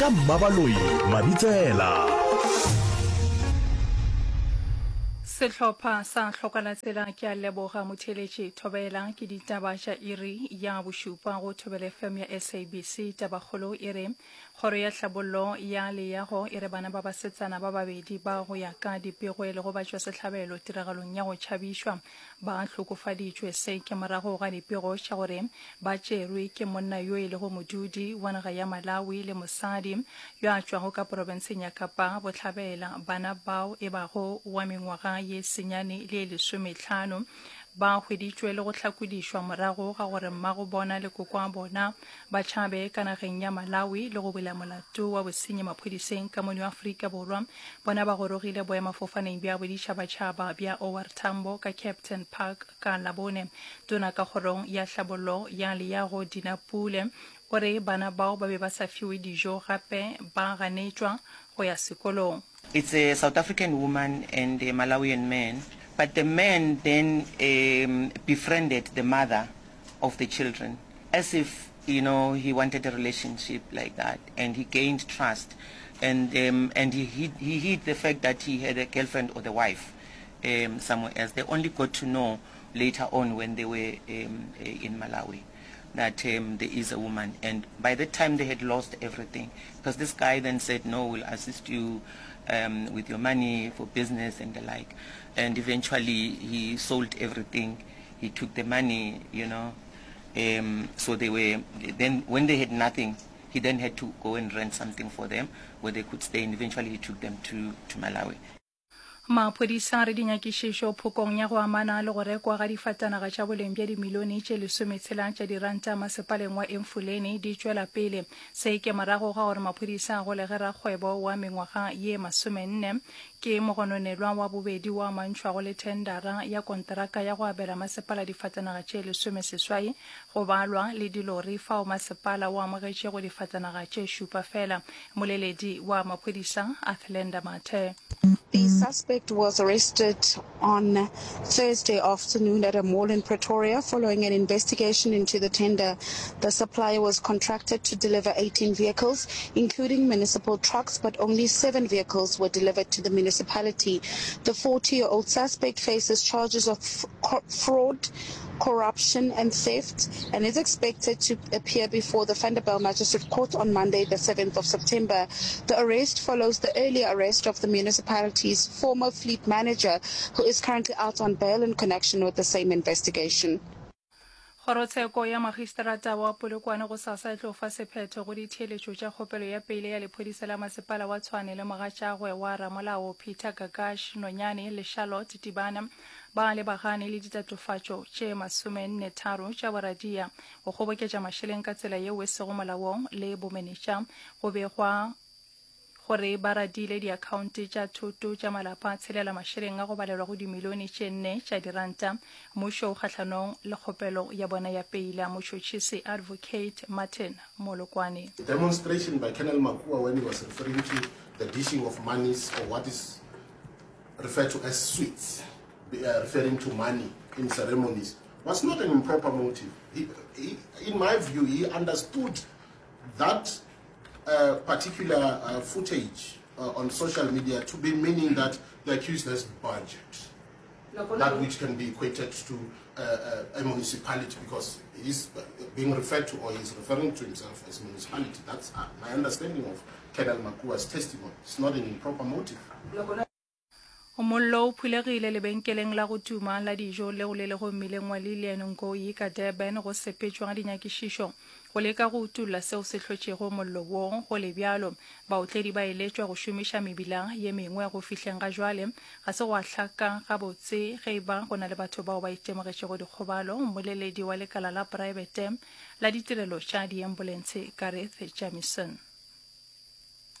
Ka Mmabaloi Mabitsela. Sehlopha sa Hlokalatsela ke a leboga motheeletši Thobela ke ditaba tša iri ya bošupa go Thobela FM ya SABC. Tabakgolo e re Kgoro ya Hlabollo ya Leago e re bana ba basetsana ba babedi ba go ya ka dipego e lego batšwasehlabelo tiragalong ya go tšhabišwa ba hlokofaditšwe. Se ke morago ga dipego tša gore ba tšerwe ke monna yo e lego modudi wa naga ya Malawi le mosadi yo a tšwago ka porofenseng ya Kapa Bohlabela. Bana bao e bago wa mengwaga ye senyane le ye lesomehlano ba hweditšwe le go hlakodišwa morago ga gore mmago bona le kokoa bona ba tšhabe ka nageng ya Malawi le go bula molato wa bosenyi maphodiseng ka mono Afrika Borwa. Bona ba gorogile boemafofaneng bja boditšhabatšhaba bja OR Tambo ka Kempton Park ka Labone. Tona ka kgorong ya hlabollo ya leago Dina Pule o re bana bao ba be ba sa fiwe dijo gape ba ganetšwa go ya sekolong. It's a South African woman and a Malawian man, but the man then um, befriended the mother of the children as if you know he wanted a relationship like that and he gained trust and um, and he hid, he hid the fact that he had a girlfriend or the wife um, somewhere else. They only got to know later on when they were um, eh, in Malawi that um, there is a woman. And by the time they had lost everything, because this guy then said, no, we'll assist you um, with your money for business and the like. And eventually he sold everything. He took the money, you know. Um, so they were, then when they had nothing, he then had to go and rent something for them where they could stay. And eventually he took them to, to Malawi. Maphodisa a re dinyakišišo phokong ya go amana le go rekwa ga difatanaga tša boleng bja dimilione tše lesometshela tša diranta masepaleng wa Emfuleni di tšwela pele. Se ke morago ga gore maphodisa a golege rakgwebo wa mengwaga ye masomenne ke mogononelwa wa bobedi wo amantšhwago le thendara ya konteraka ya go abela masepala difatanaga tše lesomeseswai go balwa le dilori fao masepala o amogetšego difatanaga tše šupa fela. Mmoleledi wa maphodisa Athlenda Mathe. The suspect was arrested on Thursday afternoon at a mall in Pretoria following an investigation into the tender. The supplier was contracted to deliver 18 vehicles, including municipal trucks, but only seven vehicles were delivered to the municipality. The 40-year-old suspect faces charges of fraud, corruption and theft and is expected to appear before the Vanderbijl Magistrate Court on Monday, the 7th of September. The arrest follows the earlier arrest of the municipality's former fleet manager, who is currently out on bail in connection with the same investigation. Kgorotsheko ya Magistrata wa Polokwane gosasa e tlo fa sephetho go ditheeletšo tša kgopelo ya peile ya lephodisa la masepala wa Tshwane le mogatšagwe wa ramolao Peter Gagash Nonyane le Charlotte Tibana ba lebagane le ditatofatšo tše masomennetharo tša boradia, go kgoboketša mašeleng ka tsela yeo e sego molaong le bomenetša. Go begwa gore ba radile diakhaonte tša thoto tša malapa a tshelela mašeleng a go balelwa go dimilione tše nne tša diranta. Mmušo o kgahlanong le kgopelo ya bona ya peila, motšhotšhisi Advocate Martin Molokwane. The demonstration by Colonel Makua when he was referring to the dishing of monies or what is referred to as sweets, uh, referring to money in ceremonies, was not an improper motive. He, he, in my view, he understood that uh, particular uh, footage uh, on social media to be meaning that the accused has budget, that which can be equated to uh, uh, a municipality because he's being referred to or he's referring to himself as municipality. That's uh, my understanding of Colonel Makua's testimony. It's not an improper motive. Mollo o phulegile lebenkeleng la go tuma la dijo leo le lego mmileng wa Lilian Ngoyi ka Durban go sepetšwa ga dinyakišišo go leka go utolla seo se hlotšego mollo wo. Go le bjalo, baotledi ba eletšwa go šomiša mebila ye mengwe go fihleng ga jwale. Ga se gwa hlaka gabotse ge e ba go na le batho bao ba itemogetšego dikgobalo, mmoleledi wa lekala la praebete la ditirelo tša diembolentshe Gareth Jamieson.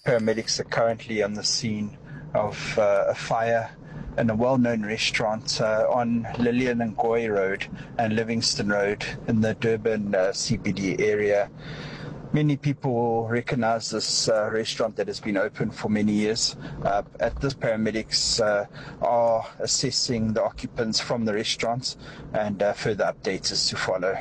Paramedics are currently on the scene of uh, a fire in a well-known restaurant uh, on Lilian Ngoyi Road and Livingston Road in the Durban uh, CBD area. Many people will recognize this uh, restaurant that has been open for many years. Uh, at this, paramedics uh, are assessing the occupants from the restaurant and uh, further updates is to follow.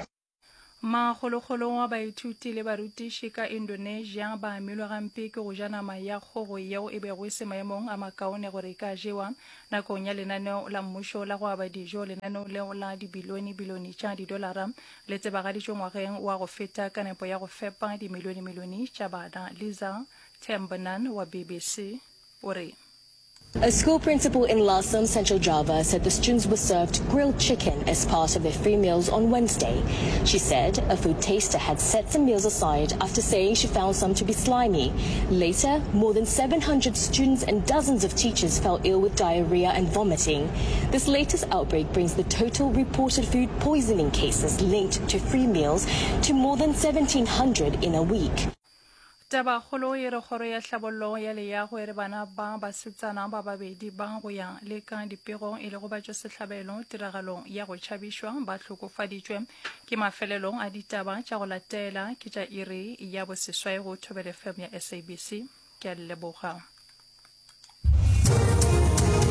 Makgolokgolo wa baithuti le barutiši ka Indonesia ba amilwe gampe ke go ja nama ya kgogo yeo e bego e se maemong a makaone gore e ka jewa nakong ya lenaneo la mmušo la go aba dijo. Lenaneo leo la dibilione-bilione tša didolara le tsebagaditšwe ngwageng wa go feta ka nepo ya go fepa dimilione-milione tša bana. Liza Tembenan wa BBC o re. A school principal in Lasem, Central Java, said the students were served grilled chicken as part of their free meals on Wednesday. She said a food taster had set some meals aside after saying she found some to be slimy. Later, more than 700 students and dozens of teachers fell ill with diarrhea and vomiting. This latest outbreak brings the total reported food poisoning cases linked to free meals to more than 1,700 in a week. Tabakgolo e re Kgoro ya Hlabollo ya Leago e re bana ba basetsana ba babedi ba go ya le ka dipego e lego batšwasehlabelo tiragalong ya go tšhabišwa ba hlokofaditšwe. Ke mafelelo a ditaba tša go latela ke tša iri ya boseswai go Thobela FM ya SABC. Ke a le leboga.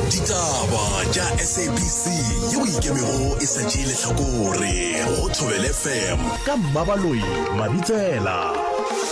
Ditaba tša SABC yeo e ikemego e sa tšee lehlakore go Thobela FM ka Mmabaloi Mabitsela.